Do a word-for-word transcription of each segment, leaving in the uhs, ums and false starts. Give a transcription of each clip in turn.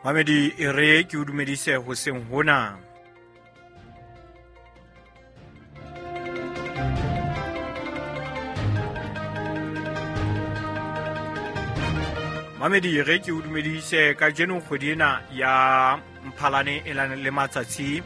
Mamedi e re ke o dumedise hoseng hona. Mamedi re ke o dumedise kajeno kgwedi ena ya Mphalane e lane le matsatsi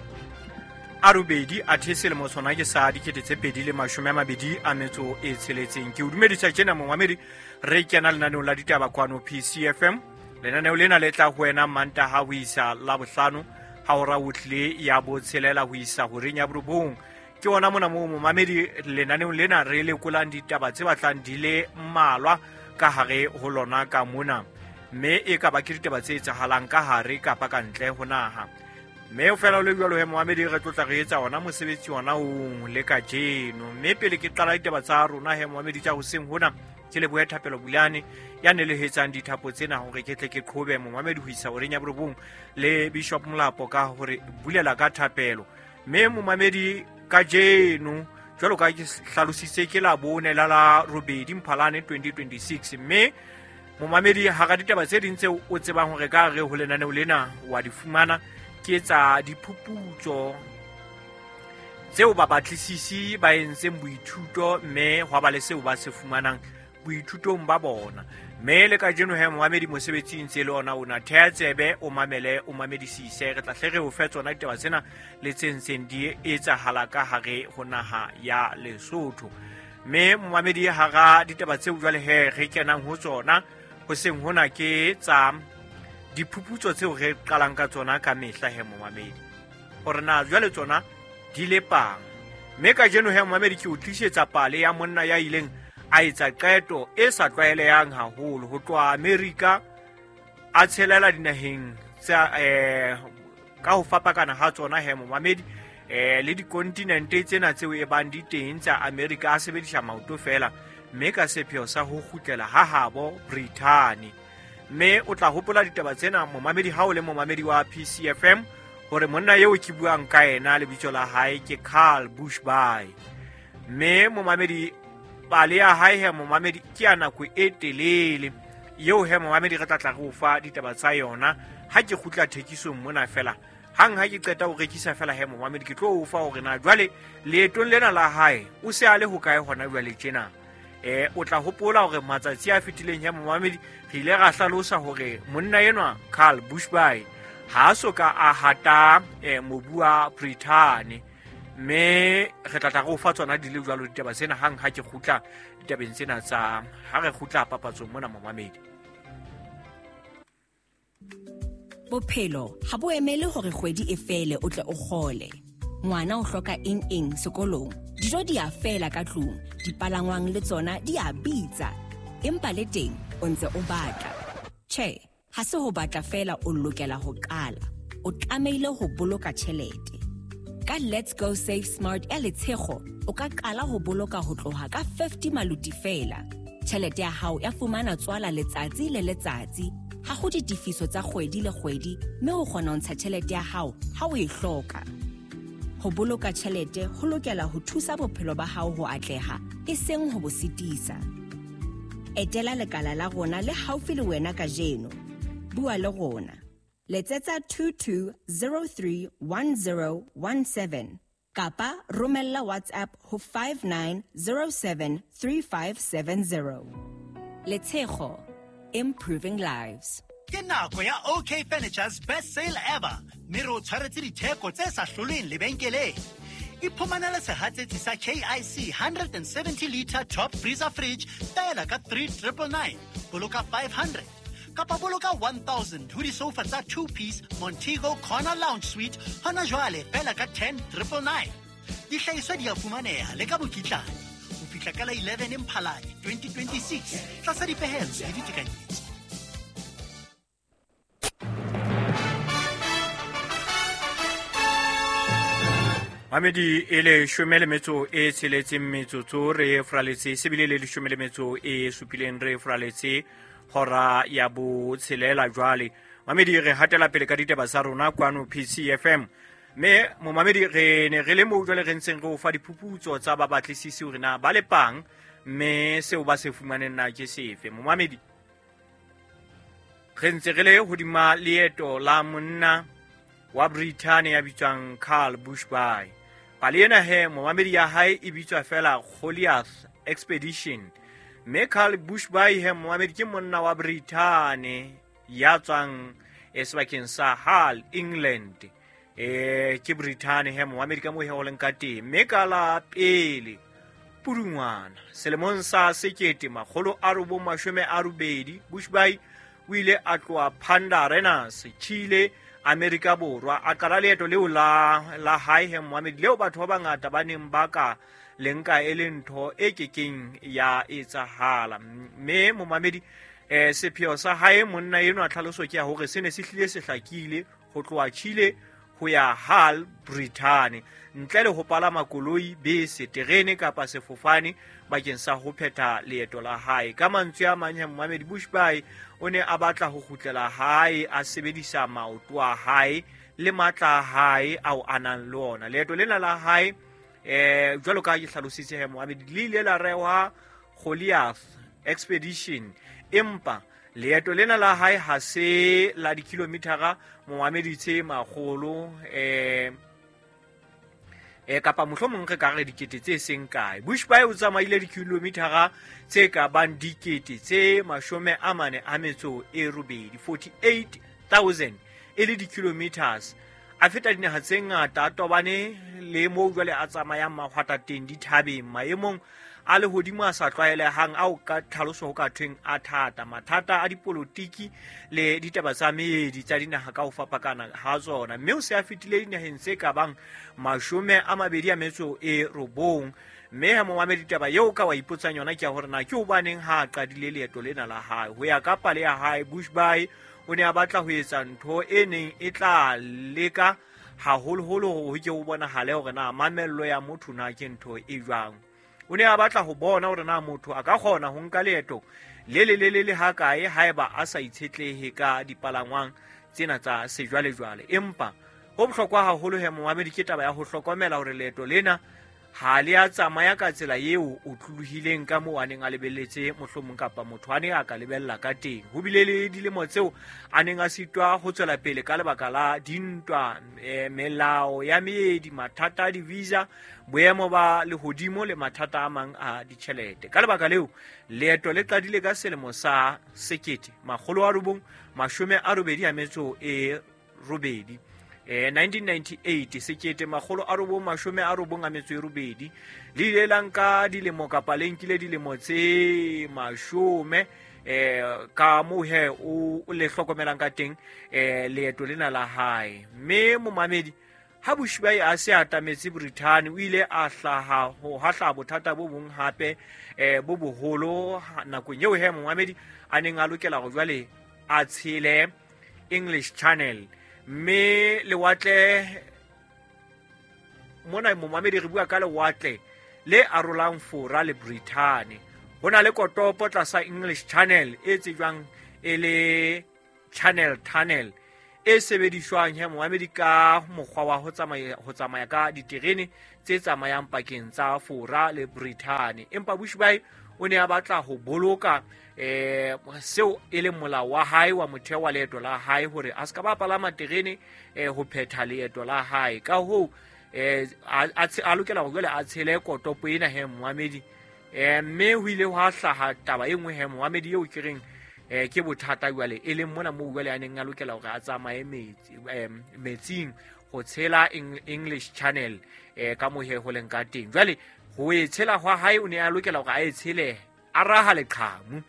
a robedi a the selemo sona ke sa dikete tse pedi le mashome a mabedi a metso e tsheletseng. Ke o dumedisa tjena momamedi, re kena lenaneong la ditaba kwano P C F M. Lenaneo lena le tla ho wena Mantaha ho isa Labohlano ha hora ho tlile ya botshelela ho isa horeng ya borobong. Ke ona mona moo momamedi lenaneong lena re lekolang ditaba tse batlang di le mmalwa ka hare ho lona ka mona, mme e ka ba ke ditaba tse etsahalang ka hare kapa ka ntle ho naha. Mme o fela o le jwalo he momamedi, re tlotla re etsa ona mosebetsi ona o le kajeno. Mme pele ke qala ditaba tsa rona he momamedi tsa hoseng hona, ke lebohe Thapelo Bulane ya nelehetsang dithapo tsena hore ke tle ke qhobe momamedi ho isa horeng ya borobong, le Bishop Molapo ka hore bulela ka thapelo. Mme momamedi kajeno jwalo ka ke hlalositse ke la bone la la robedi Mphalane twenty twenty-six. Mme momamedi hara ditaba tse ding tseo o tsebang hore ka re ho lenaneo lena wa di fumana ke tsa diphuputso tseo ba batlisisi ba entseng boithuto, mme hwa ba le seo ba se fumanang boithutong ba bona. Mme le kajeno he momamedi mosebetsing tse le ona ona thea tsebe o mamele o mamedisise, re tla hle re o fe tsona ditaba tsena le tse ntseng di etsahala ka hare ho naha ya Lesotho. Mme momamedi hara ditaba tseo jwale he re kenang ho tsona hoseng hona ke tsa diphuputso tseo re qalang ka tsona ka mehla he momamedi, hore na jwale tsona di lepang. Mme kajeno he momamedi ke o tlisetsa pale ya monna ya ileng a etsa qeto e sa tlwaelehang haholo ho tloha Amerika a tshelela dinaheng tsa eh ka ho fapakana ha tsona he momamedi, eh le dikontinente tsena tseo e bang di teng tsa Amerika a sebedisa maoto fela, mme ka sepheo sa ho kgutlela ha habo Brithani. Mme o tla hopola ditaba tsena momamedi ha o le momamedi wa P C F M hore monna eo ke buang ka yena lebitso la hae ke Karl Bushby. Mme momamedi pale ya hae he momamedi ke ya nako e telele eo he momamedi re tla tla re o fa ditaba tsa yona ha ke kgutla thekisong mona fela. Hang ha ke qeta ho rekisa fela he momamedi ke tlo o fa hore na jwale leetong lena la hae o se a le hokae hona jwale tjena. Eh o tla hopola hore matsatsi a fetileng he momamedi re ile ra hlalosa hore monna enwa Karl Bushby ha so ka a hata eh, mobu wa Brithani. Mme re tla tla re o fa tsona di le jwalo ditaba tsena hang ha ke kgutla ditabeng tsena tsa ha re kgutla papatsong mona momamedi. Bophelo ha bo emele hore kgwedi e fele o tle o kgole. Ngwana o hloka eng eng sekolong, dijo di a fela ka tlung, dipalangwang le tsona di a bitsa. Empa le teng o ntse o batla. Tjhe, ha se ho batla fela o lokela ho qala. O tlamehile ho boloka tjhelete. Ka Let's Go Save Smart ya Letshego, o ka qala ho boloka ho tloha ka fifty maluti fela. Tjhelete ya hao ya fumana tswala letsatsi le letsatsi. Ha ho ditefiso tsa kgwedi le kgwedi, mme o kgona ho ntsha tjhelete ya hao ha o e hloka. Ho boloka tjhelete ho lokela ho thusa bophelo ba hao ho atleha, e seng ho bo sitisa. Etela lekala la rona le haufi le wena kajeno. Bua le rona. Letsetsa two two zero three one zero one seven kapa romella WhatsApp ho five nine zero seven three five seven zero. Letshego, improving lives. Ke nako ya O K Furniture's best sale ever. Mme re o tshwaretse ditheko tse sa hlolweng lebenkeleng. Iphumanele sehatsetsi sa K I C one seventy liter top freezer fridge feela ka three triple nine. Boloka five hundred. Kapa boloka one thousand ho disofa tsa two piece Montego Corner Lounge Suite hona jwale feela ka ten triple nine. Dihlahiswa di a fumaneha le ka mokitlane ho fihla ka la eleven Mphalane twenty twenty-six tlasa dipehelo le ditekanyetso. Mamedi e leshome le metso e tsheletseng metsotso re fraletse sebile le leshome le metso e supileng re fraletse hora ya botshelela jwale. Mamedi re hatela pele ka ditaba tsa rona kwano P C F M. Mme momamedi re ne re le moo jwale re ntseng re o fa diphuputso tsa ba batlisisi hore na ba lepang mme seo ba se fumaneng na ke sefe. Momamedi Re ntse re le hodima leeto la monna wa Britain ya bitswang Karl Bushby. Pale ena he momamedi ya hae e bitswa fela Goliath Expedition. Mme Karl Bushby he momamedi ke monna wa Britain ya tswang sebakeng sa Hull, England. E ke Britain he momamedi ka moo he ho leng ka teng. Mme ka la pele Pudungwana selemong sa sekete makgolo a robong mashome a robedi, Bushby o ile a tloha Punta Arenas, Chile, Amerika Borwa. A qala leeto leo la la hae he momamedi, leo batho ba bangata ba neng ba ka le nka e le ntho e kekeng ya etsahala. Mme momamedi eh sepheo sa hae monna enwa tlhaloso ke ya hore se ne se hlile se hlakile ho tloha Chile ho ya Hull, Britain, ntle le ho palama koloi, bese, terene kapa sefofane bakeng sa ho phetha leeto la hae. Ka mantswe a mang, momamedi, Bushby o ne a batla ho kgutlela hae a sebedisa maoto a hae le matla a hae ao a nang le ona. Leeto lena la hae eh jwalo ka ke hlalositse he momamedi, le ile la rehwa Goliath Expedition, empa leeto lena la hae ha se la dikilometara momamedi tse makgolo eh e kapa mohlomong re ka re dikete tse seng kae. Bushby o tsamaile dikilometara tse ka bang dikete tse mashome a mane a metso e robedi, forty-eight thousand e le di-kilometers. A feta dinaha tse ngata, a tobane le moo jwale a tsamayang mahwatateng, dithabeng, maemong a lehodimo a sa tlwaelehang ao ka tlhaloso ho ka thweng a thata, mathata a dipolotiki le ditaba tsa meedi tsa dinaha ka ho fapakana ha tsona. Mme o se a fetile dinaheng tse ka bang mashome a mabedi a metso e robong. Mme ha momamedi, taba eo ka wa ipotsang yona ke ya hore na ke hobaneng ha a qadile leeto lena la hae. Ho ya ka pale ya hae, Bushby o ne a batla ho etsa ntho e neng e tla leka haholoholo hore ho ke ho bonahale hore na mamello ya motho na ke ntho e jwang. O ne a batla ho bona hore na motho a ka kgona ho nka leeto le le le le ha kae haeba a sa itshetlehe ka dipalangwang tsena tsa sejwalejwale. Empa ho bohlokwa haholo he momamedi ke taba ya ho hlokomela hore leeto lena ha le a tsamaya ka tsela eo o tlolohileng ka moo a neng a lebelletse mohlomong kapa motho a ne a ka lebella ka teng. Ho bile le dilemo tseo a neng a sitwa ho tswela pele ka lebaka la dintwa, e, melao ya meedi, mathata a di-visa, boemo ba lehodimo le mathata a mang a ditjhelete. Ka lebaka leo, leeto le qadile ka selemo sa sekete makgolo a robong mashome a robedi a metso e robedi, Eh, nineteen ninety-eight, sekete makgolo a robong mashome a robong a metso e robedi. Le ile la nka dilemo kapa le nkile dilemo tse mashome eh ka moo he o le hlokomelang ka teng eh leeto lena la hae. Mme momamedi, ha Bushby a se atametse Britain, o ile a hlaha ho hahla bothata bo bong hape eh bo boholo nakong eo he momamedi a neng a lokela hore jwale a tshele English Channel. Mme lewatle mona momamedi re bua ka lewatle le arolang Fora le Britain. Ho na le kotopo tlasa English Channel e tsejwang e le Channel Tunnel e sebediswang he momamedi ka mokgwa wa ho tsamaya ho tsamaya ka diterene tse tsamayang pakeng tsa Fora le Britain. Empa Bushby o ne a batla ho boloka eh seo e leng molao wa hae wa motheo wa leeto la hae hore a ska ba palama terene eh ho phetha leeto la hae. Ka hoo eh a lokela hore jwale a tshele kotopo ena he momamedi. Eh mme ho ile hwa hlaha taba e nngwe he momamedi eo ke reng eh ke bothata jwale e leng mona moo jwale a neng a lokela hore a tsamaye metsi metsing ho tshela English Channel eh ka moo he ho leng ka teng. Jwale ho e tshela hwa hae o ne a lokela hore a e tshele a raha leqhamu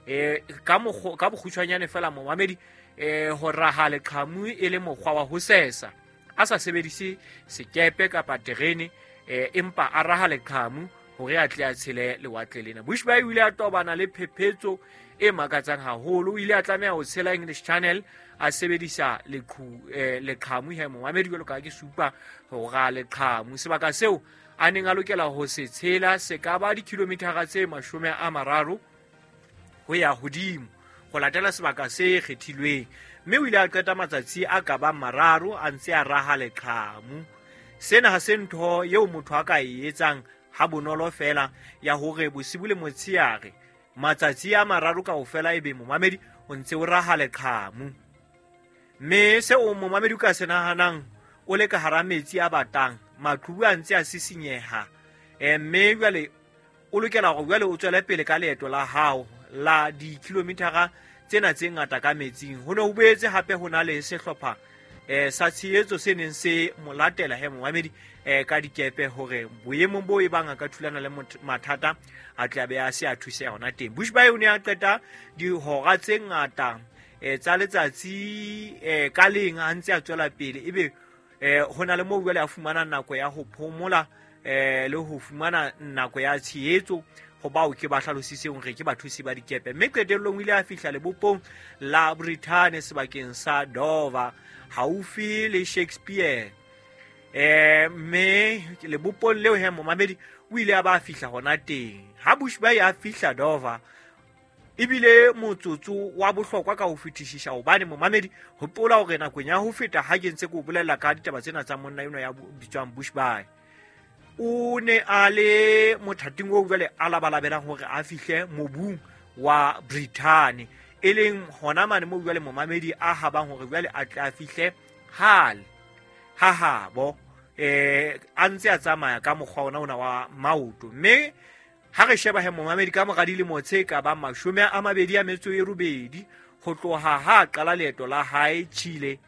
eh ka mokgo ka bokgutshwanyane fela momamedi eh ho raha leqhamu e le mokgwa wa ho sesa a sa sebedise sekepe kapa terene eh empa a raha leqhamu hore a tle a tshele lewatle lena. Bushby o ile a tobana le phephetso e makatsang haholo. O ile a tlameha ho tshela English Channel a sebedisa leqhu eh, leqhamu he momamedi jwalo ka ke supa ho raha leqhamu. Sebaka seo a neng a lokela ho se tshela se ka ba dikilometara tse mashome a mararo ho ya hodimo ho latela sebaka se kgethilweng. Mme o ile a qeta matsatsi a ka bang mararo a ntse a raha leqhamu. Sena ha se ntho eo motho a ka e etsang ha bonolo fela ya hore bosibu le motsheare matsatsi a mararo kaofela ebe momamedi o ntse o raha leqhamu. Mme seo momamedi o ka se nahanang o le ka hara metsi a batang, maqhubu a ntse a sisinyeha. Eh, mme jwale o lokela hore jwale o tswele pele ka leeto la hao la dikilomitara tsena tse ngata ka metsing. Ho ne ho boetse hape ho na le sehlopha eh sa tshehetso se neng se mo latela he momamedi eh ka dikepe hore boemong bo e bang a ka thulana le mathata a tla be a se a thuseha hona teng. Bushbuy o ne a qeta dihora tse ngata eh tsa letsatsi eh ka leng a ntse a tswela pele, ebe eh ho na le moo jwale a fumana nako ya ho phomola eh le ho fumana nako ya tshehetso ho bao ke ba hlalositseng hore ke bathusi ba dikepe. Mme qetellong o ile a fihla lebopong la Britain sebakeng sa Dover haufi le Shakespeare. Eh mme lebopong leo he momamedi o ile a ba fihla hona teng. Ha Bushbuy a fihla Dover ebile motsotso wa bohlokwa ka ho fetisisa, hobane momamedi hopola hore nakong ya ho feta ha ke ntse ke o bolella ka ditaba tsena tsa monna eno ya bitswang Bushbuy, o ne a le mothating oo jwale a labalabelang hore a fihle mobung wa Britain, e leng hona mane moo jwale momamedi a habang hore jwale a tla fihle hale ha habo eh a ntse a tsamaya ka mokgwa ona ona wa maoto. Mme ha re sheba he momamedi ka mora dilemo tse ka bang mashome a mabedi a metso e robedi ho tloha ha qala leeto la hae Chile,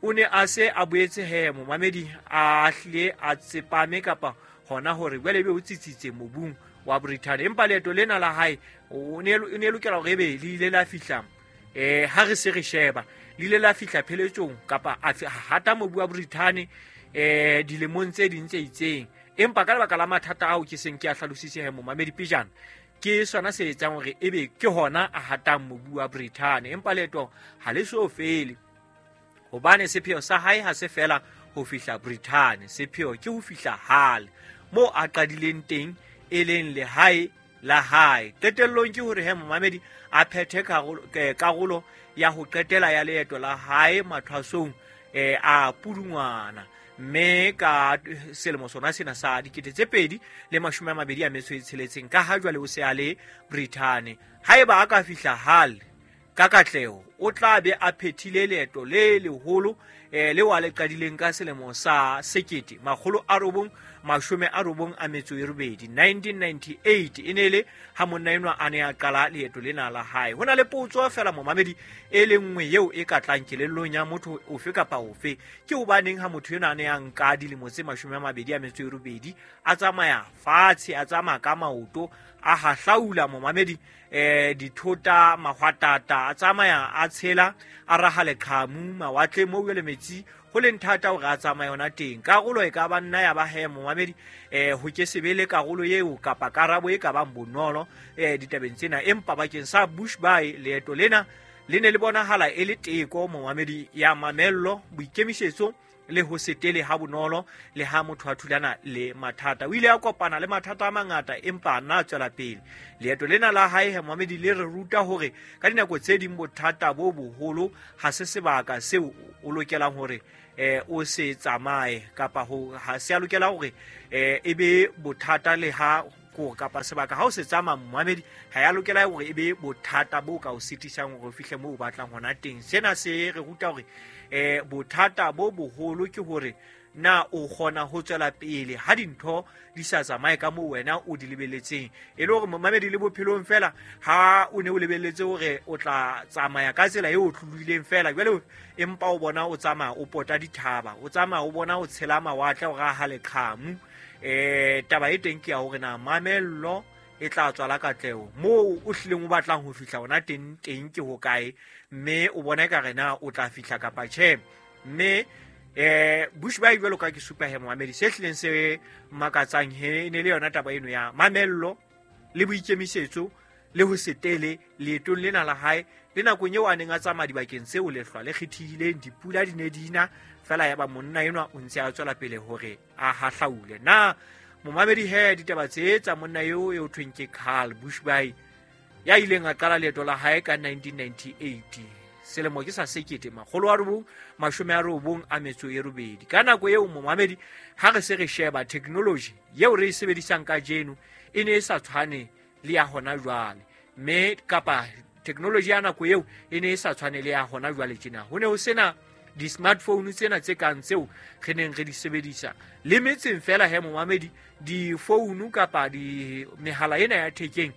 o ne a se a boetse he momamedi a hlile a tsepame kapa hona hore jwale ebe o tsitsitse mobung wa Britain. Empa leeto lena la hae o ne ne lokela hore ebe le ile la fihla eh ha re se re sheba le ile la fihla pheletsong kapa a hata mobu wa Britain eh dilemong tse ding tse itseng. Empa ka lebaka la mathata ao ke seng ke a hlalositse he momamedi pejana, ke sona se etsang hore ebe ke hona a hatang mobu wa Britain. Empa leeto ha le so fele, hobane sepheo sa hae ha se fela ho fihla Britain, sepheo ke ho fihla Hull moo a qadileng teng, e leng lehae la hae. Qetellong ke hore he momamedi a phethe karolo ya ho qetela ya leeto la hae mathwasong eh a Pudungwana, mme ka selemo sona sena sa dikete tse pedi le mashome a mabedi a metso e tsheletseng, ka ha jwale o se a le Britain. Haeba a ka fihla Hull ka katleho, o tla be a phethile leeto le leholo eh leo a le qadileng ka selemo sa sekete makgolo a robong mashome a robong a metso e robedi nineteen ninety-eight e ne le ha monna enwa a ne a qala leeto lena la hae. Ho na le potso fela momamedi e le nngwe eo e ka tlang kelellong ya motho ofe kapa ofe, ke hobaneng ha motho enwa a ne a nka dilemo tse mashome a mabedi a metso e robedi a tsamaya fatshe, a tsamaya ka maoto, a hahlaula momamedi eh dithota mahwatata, a tsamaya a tshela a raha leqhamu mawatle moo jwale metsi ho leng thata hore a tsamaye hona teng. Karolo e ka ba nna ya ba he momamedi eh ho ke sebele karolo eo kapa karabo e ka bang bonolo eh ditabeng tsena. Empa bakeng sa Bushbuy leeto lena le ne le bonahala e le teko momamedi ya mamello, boikemisetso le ho setele ha bonolo le ha motho a thulana le mathata. O ile a kopana le mathata a mangata empa a nna a tswela pele. Leeto lena la hae he momamedi le re ruta hore ka dinako tse ding bothata bo boholo ha se sebaka seo o lokelang hore eh o se tsamaye kapa ho ha se a lokela hore eh e be bothata le ha ko kapa sebaka ha o se tsamaya momamedi ha ya lokela hore e be bothata bo ka o sitisang hore o fihle moo o batlang hona teng. Sena se re ruta hore eh bothata bo boholo ke hore na o kgona ho tswela pele ha dintho di sa tsamaye ka moo wena o di lebeletseng. E le hore momamedi le bophelong fela ha o ne o lebeletse hore o tla tsamaya ka tsela eo o tlohileng fela, jwale empa o bona o tsamaya o pota dithaba, o tsamaya o bona o tshela mawatle o raha leqhamu. Eh taba e teng ke ya hore na mamello e tla tswala katleho moo o hlileng o batlang ho fihla hona teng teng ke hokae, mme o bona ekare na o tla fihla kapa tjhe. Mme eh Bushbuy jwalo ka ke supa he momamedi, se hlileng se makatsang he ne le yona taba eno ya mamello le boikemisetso le ho setele leetong lena la hae le nakong eo a neng a tsamaya dibakeng tseo lehlwa le kgethehileng, dipula di ne di na fela, ya ba monna enwa o ntse a tswela pele hore a hahlaule. Na momamedi he ditaba tse tsa monna eo eo thweng ke Carl Bushbuy ya ileng a qala leeto la hae ka nineteen ninety-eight, selemo ke sa sekete makgolo a robong mashome a robong a metso e robedi. Ka nako eo momamedi ha re se re sheba technology eo re e sebedisang kajeno e ne e sa tshwane le ya hona jwale, mme kapa Technology ya nako eo e ne e sa tshwane le ya hona jwale tjena. Ho ne ho sena di-smartphone tsena tse kang tseo re neng re di sebedisa le metseng fela he momamedi. Difounu kapa di mehala ena ya thekeng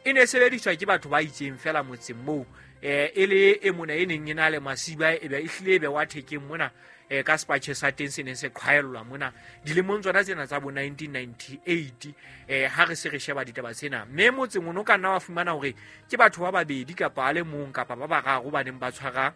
e ne sebediswa ke batho ba itseng fela motseng moo, eh e le e mona e neng e na le masiba e be e hlile e be wa thekeng mona, eh ka sepatjhe sa teng se neng se qhwaellwa mona dilemong tsona tsena tsa bo nineteen ninety-eight, eh ha re se re sheba ditaba tsena. Mme motseng ono ka nna wa fumana hore ke batho ba babedi kapa a le mong kapa ba bararo ba neng ba tshwara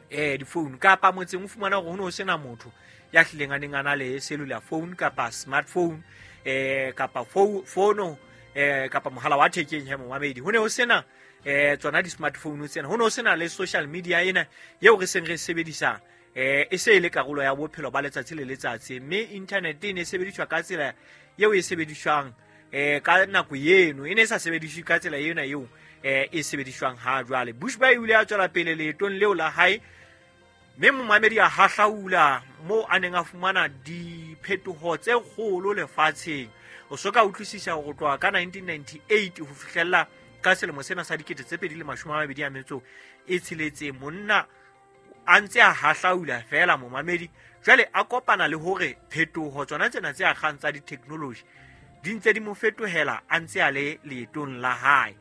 eh difounu, kapa motseng o fumana hore ho no sena motho ya hlileng a neng a na le cellular phone kapa smartphone, eh kapa fono, eh kapa mohala wa thekeng he momamedi. Ho ne ho sena eh tsona di-smartphone tsena, ho ne ho sena le social media ena eo re seng re sebedisa, eh e se e le karolo ya bophelo ba letsatsi le letsatsi. Mme internet e ne e sebediswa ka tsela eo e sebediswang eh ka nako eno, e ne e sa sebediswe ka tsela ena eo eh e sebediswang ha jwale. Bushbuy o ile a tswela pele leetong leo la hae, mme momamedi a hahlaula moo a neng a fumana diphetoho tse kgolo lefatsheng. O soka utlwisisa hore tloha ka nineteen ninety-eight ho fihlella ka selemo sena sa dikete tse pedi le mashome a mabedi a metso e tsheletseng, monna a ntse a hahlaula fela momamedi. Jwale a kopana le hore phetoho tsona tsena tse akgang tsa di-technology di ntse di mo fetohela a ntse a le leetong la hae.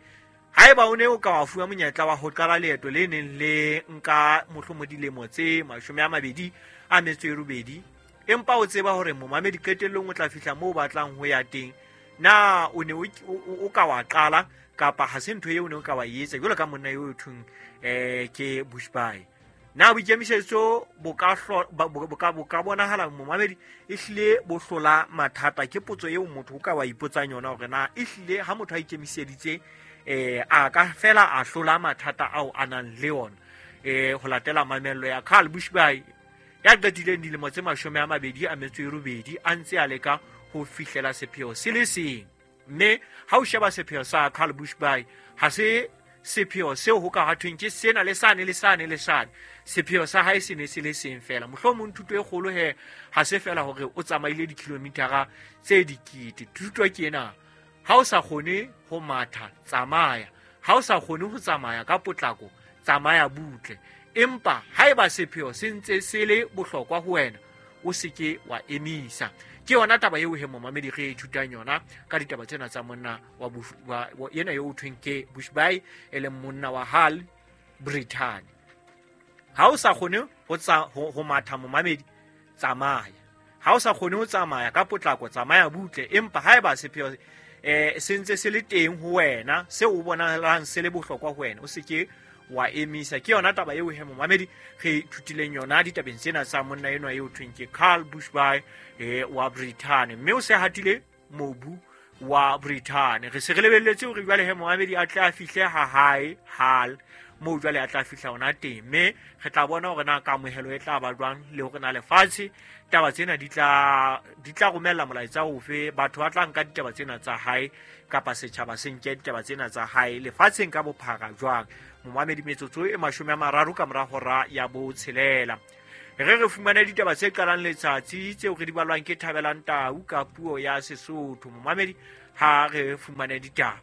Haeba o ne o ka wa fuwa monyetla wa ho qala leeto le neng le nka mohlomong dilemo tse mashome a mabedi a metso e robedi, empa o tseba hore momamedi qetellong o tla fihla moo o batlang ho ya teng, na o ne o ka wa qala kapa ha se ntho eo o ne o ka wa etsa jwalo ka monna eo thweng eh ke Bushbuy? Na boikemisetso bo ka bo ka bo ka bonahala momamedi e hlile bo hlola mathata? Ke potso eo motho o ka wa ipotsang yona hore na e hlile ha motho a ikemiseditse eh a ka fela a hlola mathata ao a nang le ona, eh ho latela mamello ya Carl Bushbuy ya qetileng dilemo tse mashome a mabedi a metso e robedi a ntse a leka ho fihlela sepheo se le seng. Mme ha o sheba sepheo sa Carl Bushbuy, ha se sepheo seo ho ka hathweng ke sena le sane le sane le sane. Sepheo sa hae se ne se le seng fela. Mohlomong thuto e kgolo he ha se fela hore o tsamaile dikilomitara tse dikete. Thuto ke ena: ha o sa kgone ho matha, tsamaya. Ha o sa kgone ho tsamaya ka potlako, tsamaya butle. Empa haeba sepheo se ntse se le bohlokwa ho wena, o se ke wa emisa. Ke yona taba eo he momamedi re ithutang yona ka ditaba tsena tsa monna wa, wa yena eo thweng ke Bushbuy, e leng monna wa Hull, Britain. Ha o sa kgone ho tsa ho matha momamedi, tsamaya. Ha o sa kgone ho tsamaya ka potlako, tsamaya butle. Empa haeba sepheo eh se ntse se le teng ho wena, seo o bonahalang se le bohlokwa ho wena, o se ke wa emisa. Ke yona taba eo he momamedi re ithutileng yona ditabeng tsena tsa monna enwa eo thweng ke Carl Bushbuy eh wa Britain. Mme o se hatile mobu wa Britain. Re se re lebelletse hore jwale he momamedi a tle a fihle ha hae Hull, moo jwale a tla fihla hona teng. Mme re tla bona hore na kamohelo e tla ba jwang le hore na lefatshe taba tsena di tla di tla romella molaetsa ofe, batho ba tla nka ditaba tsena tsa hae kapa setjhaba se nke ditaba tsena tsa hae lefatsheng ka bophara jwang. Momamedi, metsotso e mashome a mararo ka mora hora ya botshelela, re re fumane ditaba tse qalang letsatsi tseo re di balwang ke Thabelang Tau ka puo ya Sesotho. Momamedi, ha re fumane ditaba.